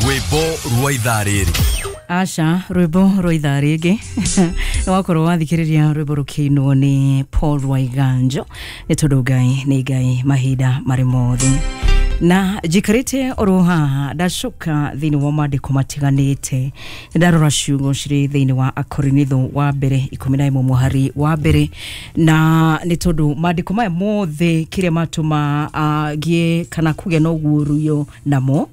Rwĩmbo rwa ithaa rĩrĩ. Aca, rwĩmbo rwa ithaa rĩngĩ nĩ wakorwo wathikĩrĩria rwĩmbo rũkĩinwo nĩ Paul Waiganjo, nĩ tondũ Ngai nĩ Ngai mahinda marĩ mothe. Na njikarĩte oro haha ndacoka thĩinĩ wa maandĩko matiganĩte, nĩ ndarora ciugo cirĩ thĩinĩ wa Akorinitho wa mbere 11 mũhari wa mbere, na nĩ tondũ maandĩko maya mothe kĩrĩa matũma ngĩe kana kũgĩa na ũguũrio namo,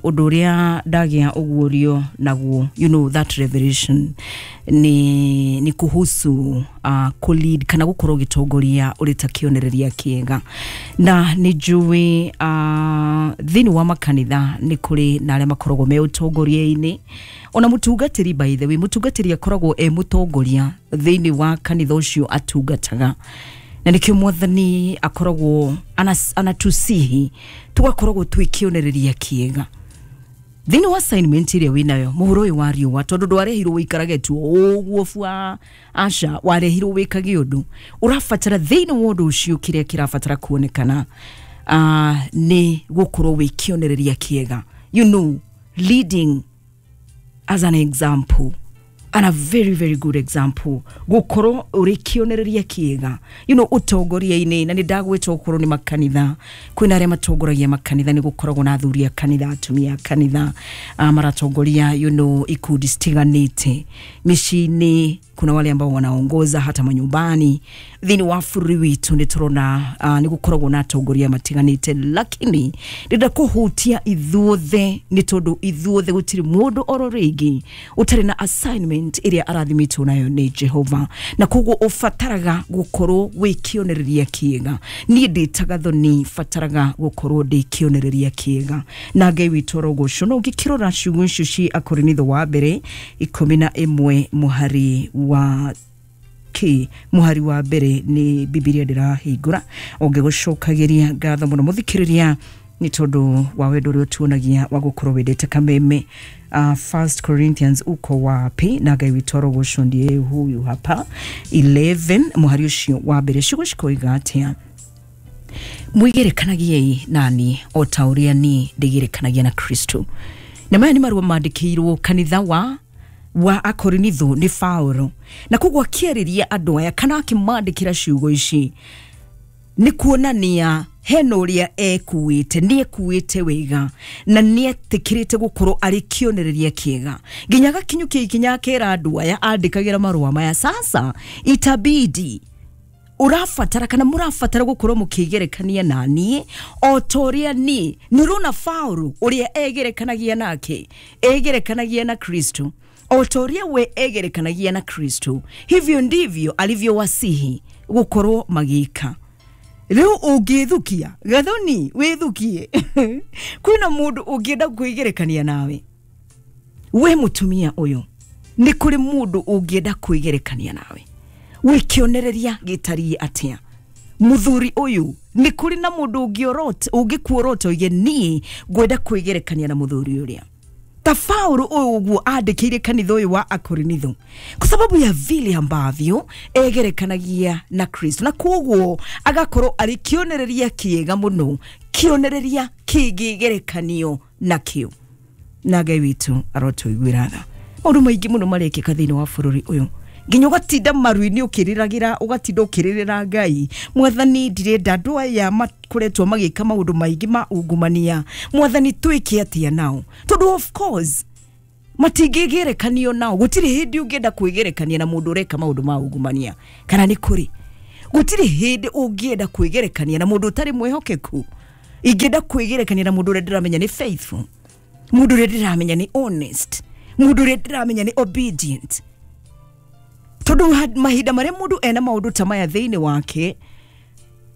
ũndũ ũrĩa ndagĩa ũguũrio naguo, you know that revelation ni kuhusu kulead kana gũkorwo ũgĩtongoria ũrĩ ta kĩonereria kĩega. Na nĩ njũĩ thĩinĩ wa makanitha nĩ kũrĩ na arĩa makoragwo me ũtongoria-inĩ, ona mũtungatĩri, by the way, mũtungatĩri akoragwo e mũtongoria thĩinĩ wa kanitha ũcio atungataga, na nĩkĩo Mwathani akoragwo anatusihi tugakoragwo twĩ kĩonereria kĩega thĩinĩ wa assignment ĩrĩa wĩnayo mũhuro ũyũ wa riũa, tondũ ndwarehirwo wĩikarage tu ũguo bua. Aca, warehirwo wĩkage ũndũ ũrabatara thĩinĩ wa ũndũ ũcio. Kĩrĩa kĩrabatara kuonekana nĩ gũkorwo wĩ kĩonereria kĩega, leading as an example, and a very very good example, gukorwo uri kĩonereria kĩega ũtongoria-inĩ. Na nĩ ndagwĩta ũkorwo nĩ makanitha, kwĩna arĩa matongoragia makanitha, nĩ gũkoragwo na athuri a kanitha, atumia a kanitha, maratongoria ikundi citiganĩte mĩciĩ-inĩ. Kuna wale ambao wanaongoza hata manyumbani. Thĩinĩ wa bũrũri witũ nĩ tũrona nĩ gũkoragwo na atongoria matiganĩte, lakini ndĩrenda kũhutia ithuothe, nĩ tondũ ithuothe gũtirĩ mũndũ oro rĩngĩ ũtarĩ na assignment ĩrĩa arathimĩtwo nayo nĩ Jehova, na koguo ũbataraga gũkorwo wĩ kĩonereria kĩega. Niĩ ndĩtaga thoni, bataraga gũkorwo ndĩ kĩonereria kĩega, na Ngai witũ arogocwo. No ũngĩkĩrora ciugo icio ci Akorinitho wa mbere 11 mũhari wa k mũhari wa mbere, nĩ Bibilia ndĩrahingũra. Ũngĩgũcokagĩria ngatho mũno mũthikĩrĩria, nĩ tondũ wa wendo ũrĩa ũtuonagia wa gũkorwo wendete kameme. First Corinthians uko wapi? Na Ngai witũ arogocwo. Ndiye huyu hapa. 11 mũhari ũcio wa mbere, ciugo cikoiga atĩa? Mwĩgerekanagiei nani o ta ũrĩa niĩ ndĩgerekanagia na Kristo. Na maya nĩ marũa mandĩkĩirwo kanitha wa Akorinitho nĩ Paulo, na koguo akĩarĩria andũ aya kana akĩmandĩkĩra ciugo ici nĩ kuonania hena ũrĩa ekuĩte, nĩ ekuĩte wega na nĩ etĩkĩrĩte gũkorwo arĩ kĩonereria kĩega, nginya agakinyũkia ikinya akera andũ aya andĩkagĩra marũa maya, sasa itabidi ũrabatara kana mũrabatara gũkorwo mũkĩgerekania na niĩ o ta ũrĩa niĩ. Nĩ ũrona Paulo ũrĩa egerekanagia nake, egerekanagia na Kristo. O ta ũrĩa we egerekanagia na Kristo, hivyo ndivyo alivyowasihi gũkorwo magĩka. Rĩu ũngĩthukia gathoni wĩthukie, kwĩna mũndũ ũngĩenda kwĩgerekania nawe. We mũtumia ũyũ, nĩ kũrĩ mũndũ ũngĩenda kwĩgerekania nawe? Wĩ kĩonereria gĩtariĩ atĩa? Mũthuri ũyũ, nĩ kũrĩ na mũndũ ũngĩorota, ũngĩkuorota oige, niĩ ngwenda kwĩgerekania na mũthuri ũrĩa, ta Paulo ũyũ ũguo andĩkĩire kanitha ũyũ wa Akorinitho, kwa sababu ya vile ambavyo egerekanagia na Kristo, na koguo agakorwo arĩ kĩonereria kĩega mũno, kĩonereria kĩngĩgerekanio nakĩo. Na Ngai witũ arotũiguĩra tha. Maũndũ maingĩ mũno marekĩka thĩinĩ wa bũrũri ũyũ, nginya ũgatinda maru-inĩ ũkĩrĩragĩra, ũgatinda ũkĩrĩrĩra Ngai, Mwathani, ndirenda andũ aya makoretwo magĩka maũndũ maingĩ ma ungumania, Mwathani, twĩke atĩa nao? Tondũ of course matingĩgerekanio nao. Gũtirĩ hĩndĩ ũngĩenda kwĩgerekania na mũndũ ũreka maũndũ ma ungumania, kana nĩ kũrĩ? Gũtirĩ hĩndĩ ũngĩenda kwĩgerekania na mũndũ ũtarĩ mwĩhokeku. Ingĩenda kwĩgerekania na mũndũ ũrĩa ndĩramenya nĩ faithful, mũndũ ũrĩa ndĩramenya nĩ honest, mũndũ ũrĩa ndĩramenya nĩ obedient, tondũ mahinda marĩa mũndũ ena maũndũ ta maya thĩinĩ wake,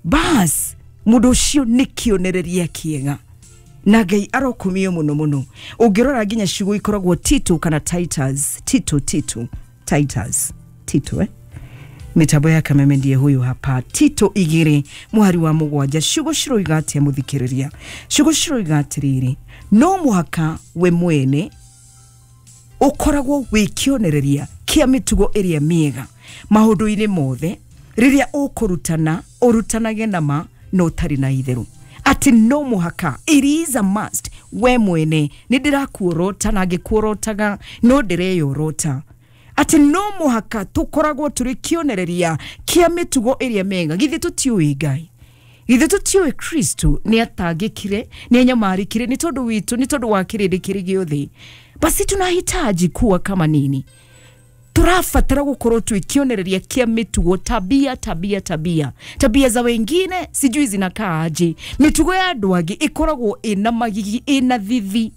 bas mũndũ ũcio nĩ kĩonereria kĩega, na Ngai arokumio mũno mũno. Ũngĩrora nginya ciugo ikoragwo Tito kana Titus, Tito, Tito, Titus, Tito, eh? Mitambo ya kameme, ndiye huyu hapa. Tito 2 mũhari wa 7, ciugo ciroiga atĩa mũthikĩrĩria? Ciugo ciroiga atĩrĩrĩ, no mũhaka we mwene ũkoragwo wĩ kĩonereria kĩa mĩtugo ĩrĩa mĩega maũndũ-inĩ mothe. Rĩrĩa ũkũrutana, ũrutanage na ma na ũtarĩ na itherũ. Atĩ no mũhaka, it is a must. We mwene nĩ ndĩrakuorota na ngĩkuorotaga no ndĩreyorota atĩ no mũhaka tũkoragwo tũrĩ kĩonereria kĩa mĩtugo ĩrĩa mĩega. Githĩ tũtiũĩ Ngai? Githĩ tũtiũĩ Kristo nĩ atangĩkire, nĩ anyamarĩkire nĩ tondũ witũ, nĩ tondũ wa kĩrĩndĩ kĩrĩ gĩothe? Basi tunahitaji kuwa kama nini? Tũrabatara gũkorwo twĩ kĩonereria kĩa mĩtugo, tabia tabia tabia tabia za wengine sijui zinakaa aje. Mĩtugo ya andũ angĩ ĩkoragwo ĩna magigi, ĩna thithi.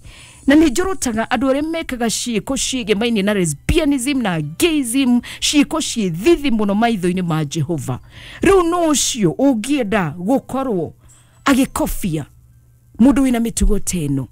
Na nĩ njorotaga andũ arĩa mekaga ciĩko ciĩgemainie na lesbianism na gayism, ciĩko ciĩ thithi mũno maitho-inĩ ma Jehova. Rĩu no ũcio ũngĩenda gũkorwo agĩkobia mũndũ wĩna mĩtugo ta ĩno,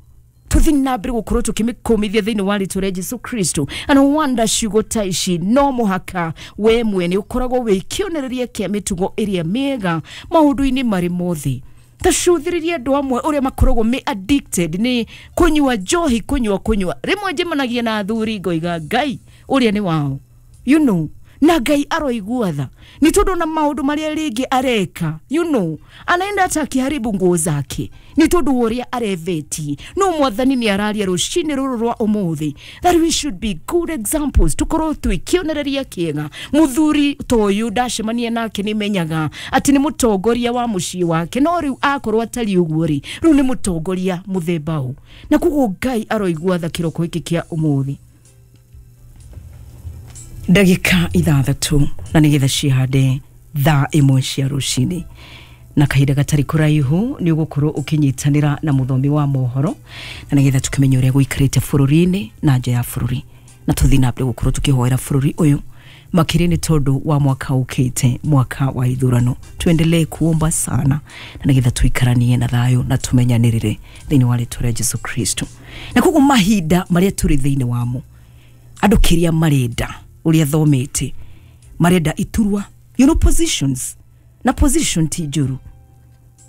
tuthi na mbere gukorwo tukimikumithia thiini wa ritwa ria Jesu Kristo. And wanda ciugo ta ici, no muhaka we mwene ukoragwo wi kionereria kia mitugo iria miega maundu-ini mari mothe. Ta cuthiririe andu amwe uria makoragwo me addicted ni kunyua njohi, kunyua rimwe njemanagia na athuri ngoiga Ngai uria ni wao, you know, na Ngai aroigua tha ni tondu na maundu maria ringi areka, you know, anaenda hata akiharibu nguo zake ni tondu uria areveti. No mwathani ni araria rucini ruru rwa umuthi that we should be good examples, tukorwo twi kionereria kiega. Muthuri ta uyu ndacemania nake ni menyaga ati ni mutongoria wa mucii wake, no riu akorwo atari uguo ri riu ni mutongoria muthemba u, na koguo Ngai aroigua tha kiroko giki kia umuthi. Ndagika 6 na nigetha cihande thaa 1 cia rucini, na kahinda gatari kuraihu ni ugukorwo ukinyitanira na muthomi wa mohoro, na nigetha tukimenya uria guikarite bururi-ini na nja ya bururi, na tuthi na mbere gukorwo tukihoera bururi uyu makiri ni tondu wa mwaka ukite, mwaka wa ithurano. Tuendelee kuomba sana na nigetha tuikaranie na thayo na tumenyanirire thiini wa ritwa ria Jesu Kristo. Na koguo mahinda maria turi thiini wamo, andu kiria marenda uria thomete marenda iturwa, you know, positions, na position ti njuru,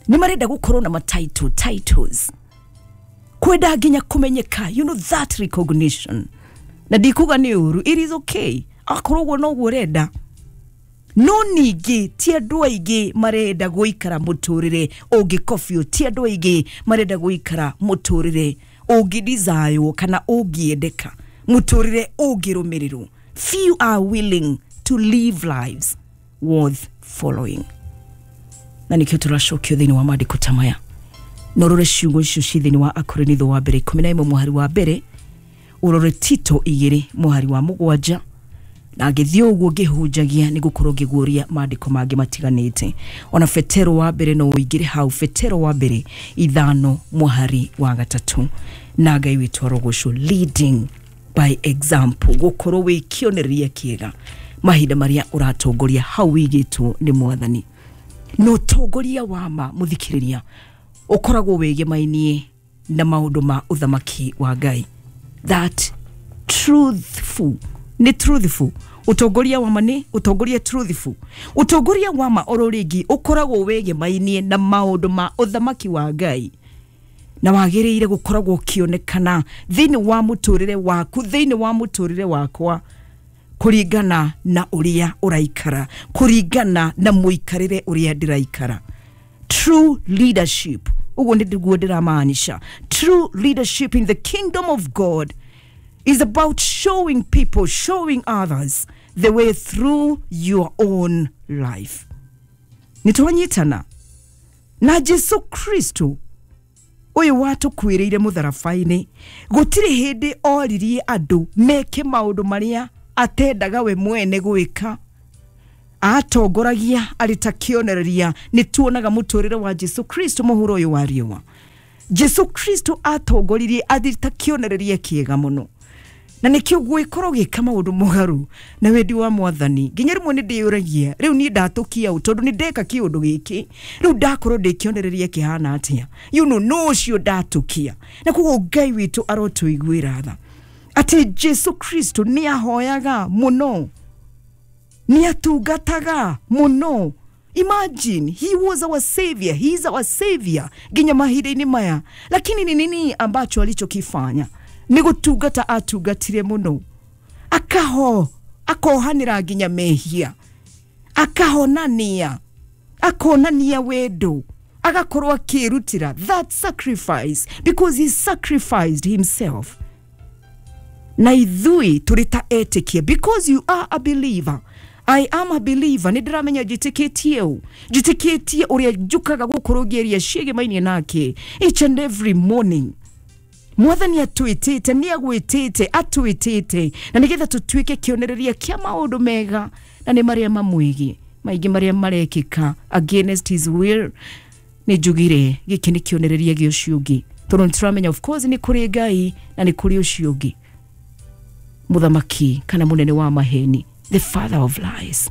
ni marenda gukorwo na matitle, titles, kwenda nginya kumenyeka, you know, that recognition. Na ndikuga ni uru, it is okay akorwo uguo noguo urenda, no ningĩ ti andũ aingĩ marenda gũikara mũtũrĩre ũngĩkobio, ti andũ aingĩ marenda gũikara mũtũrĩre ũngĩdesirwo kana ũngĩendeka, mũtũrĩre ũngĩrũmĩrĩrwo. Few are willing to live lives worth following. Na nikio turacokio thiini wa maandiko ta maya, no rore ciugo icio ci thiini wa Akorinitho wa mbere 11 muhari wa mbere, urore Tito 2 muhari wa 7, na ngĩthiĩ ũguo ngĩhunjagia nĩ gũkorwo ngĩguũria maandĩko mangĩ matiganĩte. Ona Petero wa mbere no ũingĩre hau, Petero wa mbere 5 muhari wa 3. Na Ngai witũ arogocwo, leading by example, gukorwo wi kionereria kiega mahinda maria uratongoria hau wigitwo ni mwathani. No tongoria wa ma muthikiriria ukoragwo wigemainie na maundu ma uthamaki wa Ngai. That truthful, ni truthful utongoria wa ma, ni utongoria truthful. Utongoria wa ma oro ringi ukoragwo wigemainie na maundu ma uthamaki wa Ngai, na wagiriire gukoragwo ukionekana thiini wa muturire waku, thiini wa muturire wakwa, kuringana na uria uraikara, kuringana na muikarire uria ndiraikara. True leadership, uguo niguo ndiramaanisha. True leadership in the kingdom of God is about showing people, showing others the way through your own life. Nitwanyitana na Jesu Kristo uyu watukwiriire mutharabaini, gutiri hindi oririe andu meke maundu maria atendaga we mwene gwika. Atongoragia ari ta kionereria. Ni tuonaga muturire wa Jesu Kristo muhuro uyu wa riũa. Jesu Kristo atongoririe ari ta kionereria kiega muno, na nikio gwikorwo gika maundu mugaru na wendi wa mwathani. Nginya rimwe ni ndiyuragia riu ni ndatukia u tondu ni ndeka kiundu giki, riu ndakorwo ndi kionereria kihana atia, you know, no ucio ndatukia. Na koguo Ngai witu arotuiguira tha ati Jesu Kristo ni ahoyaga muno, ni atungataga muno. Imagine, he was our savior, he is our savior nginya mahinda-inĩ maya, lakini ni nini ambacho alichokifanya? Ni gutungata atungatire muno, akaho akohanira nginya mehia, akahonania, akonania wendo, Agakorwo akĩrutĩra that sacrifice because he sacrificed himself. Na ithui tũrĩ ta etĩkia, because you are a believer, I am a believer, nĩ ndĩramenya njĩtĩkĩtie ũ, njĩtĩkĩtie ũrĩa njũkaga gũkorwo ngĩaria ciĩgĩmainie nake each and every morning. Mwathani atwĩtĩte, nĩ agwĩtĩte, atwĩtĩte na nĩgetha tũtuĩke kĩonereria kĩa maũndũ mega na nĩ marĩa mamwĩgiĩ maingĩ marĩa marekĩka against his will. Nĩ njugire gĩkĩ nĩ kĩonereria gĩa ũcio ũngĩ, tondũ nĩtũramenya of course nĩ kũrĩ Ngai na nĩ kũrĩ ũcio ũngĩ mũthamaki kana mũnene wa maheni, the father of lies.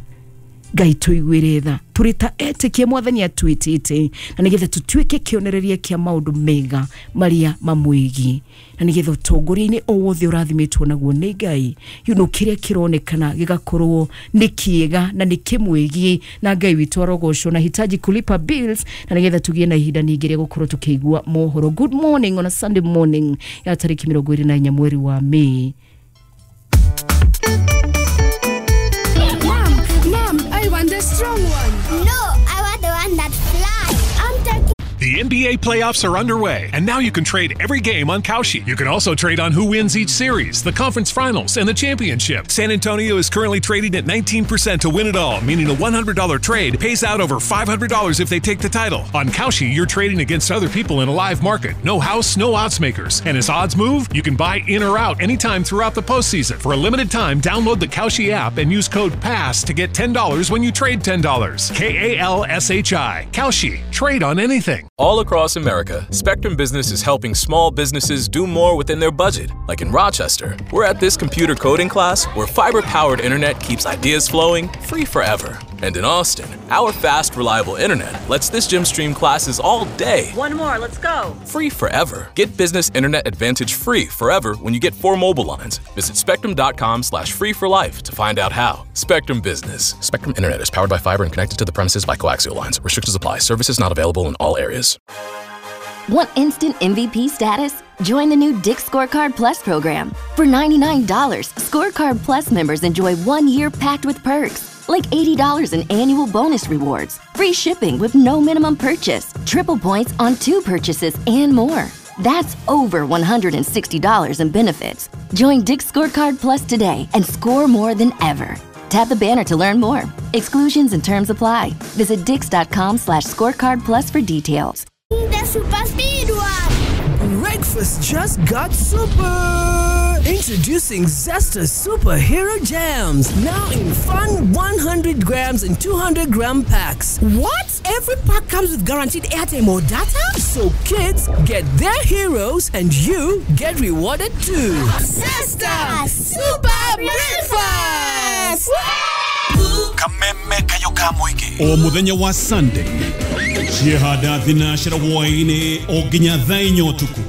Ngai tũiguĩre tha, tũrĩ ta etĩkia mwathani atwĩtĩte na nĩgetha tũtuĩke kĩonereria kĩa maũndũ mega marĩa mamwĩgiĩ, na nĩgetha ũtongoria-inĩ o wothe ũrathimĩtwo naguo nĩ Ngai, you know, kĩrĩa kĩronekana gĩgakorwo nĩ kĩega na nĩ kĩmwĩgiĩ, na Ngai witũ arogocwo. Na hitaji kulipa bills na nĩgetha tũgĩe na ihinda ningĩ rĩa gũkorwo tũkĩigua mohoro. Good morning on a Sunday morning ya tarĩki 24 mweri wa Mei. Mom, I want the strong one. No, I want the one that flies. I'm taking. The NBA playoffs are underway, and now you can trade every game on Kalshi. You can also trade on who wins each series, the conference finals, and the championship. San Antonio is currently trading at 19% to win it all, meaning a $100 trade pays out over $500 if they take the title. On Kalshi, you're trading against other people in a live market. No house, no odds makers. And as odds move, you can buy in or out anytime throughout the postseason. For a limited time, download the Kalshi app and use code PASS to get $10 when you trade $10. Kalshi. Kalshi. Trade on anything. All across America, Spectrum Business is helping small businesses do more within their budget. Like in Rochester, we're at this computer coding class where fiber-powered internet keeps ideas flowing free forever. And in Austin, our fast, reliable internet lets this gym stream classes all day. One more, let's go. Free forever. Get business internet advantage free forever when you get 4 mobile lines. Visit spectrum.com/free for life to find out how. Spectrum Business. Spectrum Internet is powered by fiber and connected to the premises by coaxial lines. Restrictions apply. Services not available in all areas. Want instant MVP status? Join the new Dick's Scorecard Plus program. For $99, Scorecard Plus members enjoy 1 year packed with perks, like $80 in annual bonus rewards, free shipping with no minimum purchase, triple points on 2 purchases, and more. That's over $160 in benefits. Join Dick's Scorecard Plus today and score more than ever. Tap the banner to learn more. Exclusions and terms apply. Visit dicks.com/scorecard plus for details. The super speed one. Breakfast just got super. Introducing Zesta Superhero Jams, now in fun 100 grams and 200 gram packs. What? Every pack comes with guaranteed airtime or data? So kids get their heroes and you get rewarded too. Zesta Super Breakfast! Kameme kayoka mwiki. O muthenya wa Sunday. Ciehanda thinacera hwaini o nginya thaa inya ũtukũ.